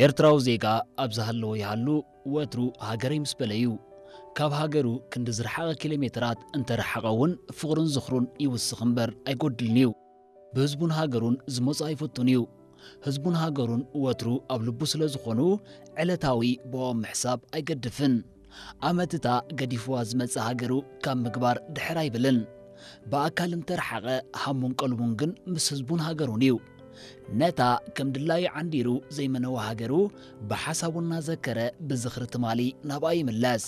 ኤርትራዊ ዜጋ ኣብ ዝሃለወ ይሃሉ፣ ወትሩ ሃገረይ ምስ በለ እዩ። ካብ ሃገሩ ክንዲ ዝረሓቐ ኪሎ ሜትራት እንተረሓቐ እውን፣ ፍቕሩን ዝኽሩን ይውስኽ እምበር ኣይጎድልን እዩ። ብህዝቡን ሃገሩን ዝመጹ ኣይፈቱን እዩ። ህዝቡን ሃገሩን ወትሩ ኣብ ልቡ ስለ ዝኾኑ፣ ዕለታዊ ብኦም ምሕሳብ ኣይገድፍን። ኣመትታ ገዲፍዋ ዝመጽእ ሃገሩ ካብ ምግባር ድሕር ኣይብልን። ብኣካል እንተረሓቐ፣ ሃሙን ቀልቡን ግን ምስ ህዝቡን ሃገሩን እዩ። ነታ ከም ድላዩ ዓንዲሩ ዘይመነዋ ሃገሩ ብሓሳቡ እናዘከረ ብዝኽሪ ትማሊ ናብኣ ይምለስ።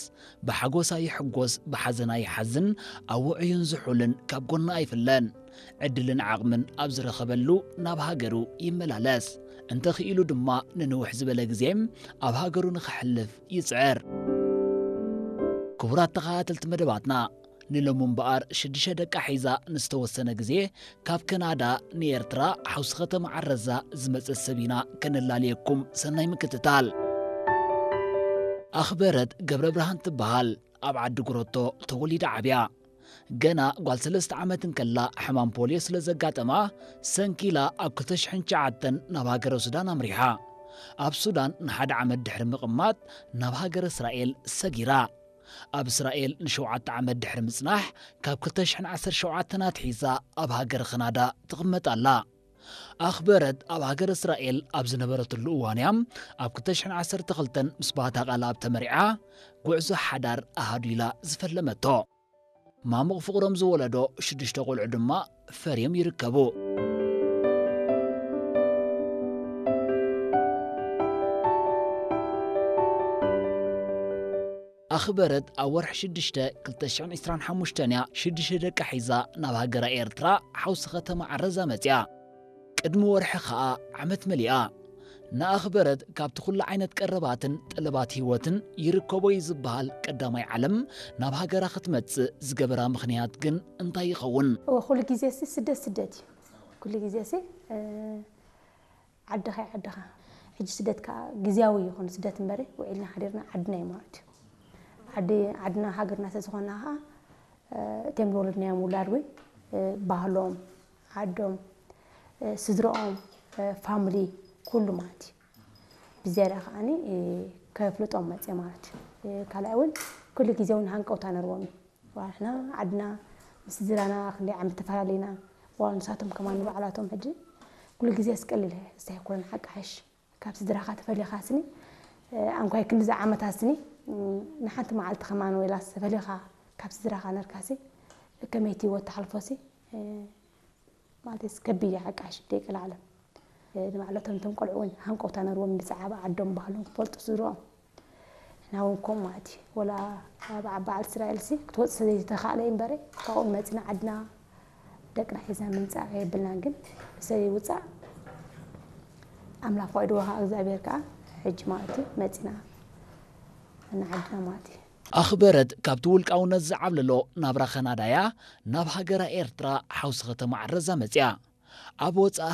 ብሓጎሳ ይሕጎስ፣ ብሓዘና ይሓዝን፣ ኣብ ውዑይን ዝሑልን ካብ ጎና ኣይፍለን። ዕድልን ዓቕምን ኣብ ዝረኸበሉ ናብ ሃገሩ ይመላለስ። እንተኽኢሉ ድማ ንንውሕ ዝበለ ግዜ ኣብ ሃገሩ ንኸሕልፍ ይጽዕር። ክቡራት ተኸታተልቲ መደባትና፣ ንሎሚ እምበኣር ሽዱሽተ ደቃ ሒዛ ንዝተወሰነ ግዜ ካብ ከናዳ ንኤርትራ ሓውሲ ከተማ ዓረዛ ዝመጸት ሰብ ኢና ከነላልየኩም። ሰናይ ምክትታል። ኣኽበረት ገብረ ብርሃን ትበሃል። ኣብ ዓዲ ጉረቶ ተወሊዳ ዓብያ። ገና ጓል ሰለስተ ዓመት እንከላ ሕማም ፖልዮ ስለ ዘጋጠማ፣ ሰንኪላ ኣብ ክልተ ሽሕን ትሽዓተን ናብ ሃገረ ሱዳን ኣምሪሓ። ኣብ ሱዳን ንሓደ ዓመት ድሕሪ ምቕማጥ ናብ ሃገረ እስራኤል ሰጊራ። ኣብ እስራኤል ንሸውዓተ ዓመት ድሕሪ ምጽናሕ፣ ካብ ክልተ ሽሕን ዓሰርተ ሸውዓተን ኣትሒዛ ኣብ ሃገረ ካናዳ ትቕመጥ ኣላ። ኣኽበረት ኣብ ሃገረ እስራኤል ኣብ ዝነበረትሉ እዋን እያ ኣብ ክልተ ሽሕን ዓሰርተ ክልተን ምስ ባህታ ቃልኣብ ተመሪዓ፣ ጉዕዞ ሓዳር ኣሃዱ ኢላ ዝፈለመቶ። ማሙቕ ፍቕሮም ዝወለዶ ሽዱሽተ ቆልዑ ድማ ፈርዮም ይርከቡ። ኣኽበረት ኣብ ወርሒ ሽዱሽተ ክልተ ሽሕን ዕስራን ሓሙሽተን እያ ሽዱሽተ ደቃ ሒዛ ናብ ሃገራ ኤርትራ ሓውሲ ከተማ ዓረዛ መጽያ። ቅድሚ ወርሒ ኸኣ ዓመት መሊኣ። ንኣኽበረት ካብቲ ኩሉ ዓይነት ቀረባትን ጠለባት ህይወትን ይርከቦ እዩ ዝበሃል ቀዳማይ ዓለም ናብ ሃገራ ክትመጽእ ዝገበራ ምኽንያት ግን እንታይ ይኸውን? እወ፣ ኩሉ ግዜ ሲ ስደት ስደት እዩ። ኩሉ ግዜ ሲ፣ እ፣ ዓድኻ እዩ ዓድኻ። ሕጂ ስደት ከኣ ግዝያዊ ይኹን ስደት እምበሪ፣ ውዒልና ሓዲርና ዓድና እዩ ማለት እዩ። ዓዲ፣ ዓድና ሃገርና ስለ ዝኾንና ከኣ፣ እ፣ እቶም ዝወለድናዮም ውላድ እውን፣ እ፣ ባህሎም፣ ዓዶም፣ እ፣ ስድራኦም፣ እ፣ ፋሚሊ፣ ኩሉ ማለት እዩ። ብዝያዳ ከኣኒ፣ እ፣ ከፍልጦም መጽየ ማለት እዩ። እ፣ ካልኣይ እውን ኩሉ ግዜ እውን ሃንቀውታ ነርዎም እዩ። ዋላ ንሕና ዓድና ምስ ስድራና ክንደይ ዓመት ተፈላለይና፣ ዋላ ንሳቶም ከማን ንባዕላቶም ሕጂ ኩሉ ግዜ ኣስቀሊል እስታይ ኮነ ሓቂ ሓሽ ካብ ስድራኻ ተፈሊኻ ስኒ፣ እ፣ ኣንኳይ ክንዲ ዝዓመታት ስኒ፣ እ፣ ንሓንቲ መዓልቲ ከማን ወላ ተፈሊኻ ካብ ስድራኻ ነርካሲ ከመይቲ ህይወት ተሓልፎሲ፣ እ፣ ማለት ከቢድ እዩ ሓቂ ሓሽ ደቂ ለዓለም። ንባዕለቶም እቶም ቆልዑ እውን ሃንቀውታ ነርዎም ብዛዕባ ዓዶም ባህሎም ክፈልጡ ስድርኦም። ንሕና እውን ከምኡ ማለት እዩ። ወላ ኣብ በዓል እስራኤልሲ ክትወጽእ ስለዘይተኻእለ እዩ እምበረ፣ ካብኡ መጺና ዓድና ደቅና ሒዝና ምምጻእ የብልናን። ግን ብሰብ ይውጻእ ኣምላኽ ፈቒድዎ ከዓ እግዚኣብሔር ከዓ ሕጂ ማለት እዩ መጺና ንዓድና ማለት እዩ። ኣኽበረት ካብቲ ውልቃውነት ዝዓብለሎ ናብራ ካናዳያ ናብ ሃገራ ኤርትራ ሓውሲ ከተማ ዓረዛ መጽያ። ኣብ ወጻኢ